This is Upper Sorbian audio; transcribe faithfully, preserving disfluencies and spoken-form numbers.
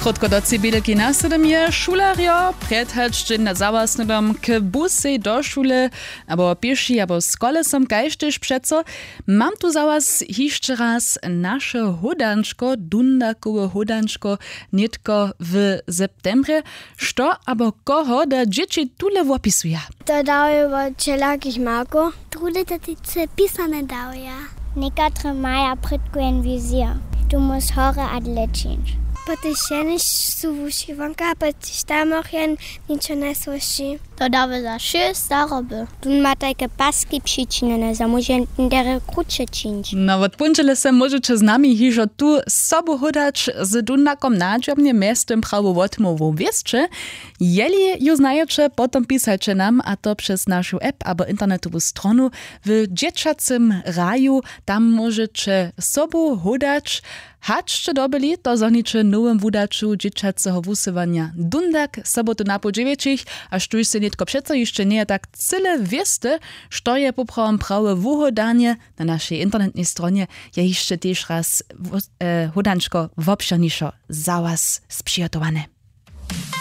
Krótko do cibědelki na sydom je šulerjo předhač dźeń na zawasnydom k busej do šule, abo pěši abo z kolesom kaž tež přeco. Mam tu za was hišće raz naše hódančko dundakowe hódančko nětko w septembrje. Što abo koho da dźěći tule wopisuja? To dawjo wot wšelakich markow. Druhdy to teče pisane dawja. Někatre maja prědko jen wizija, tu móž horje a dlěčińć. Potež jeniž su wuši wonka potež tam och jen ničo njesłyši. To dawy za wšě staroby. Tón ma tajke paski přičinjene za móže derje kruće čińć. No wot póndźele se móžeće z nami hižo tu sobu hódać z dundakom na dźomnje mjeztym prawu wotmołwu wěsće. Jeli ju znajeće, potom pisaće nam a to přez našu app abo internetowu stronu. W dźěćacym raju tam móžeće sobu hódać. Hač sće dobyli to zhoniće w nowym wudaću dźěćaceho wusyłanja dundak sobotu napoł dźewjećich. A štóž sej nětko přeco hišće njeje tak cyle wěste, što je poprawom prawe wuhódanje, na našej internetnej stronje je hišće tež raz hódančko wobšěrnišo za was spřihotowane.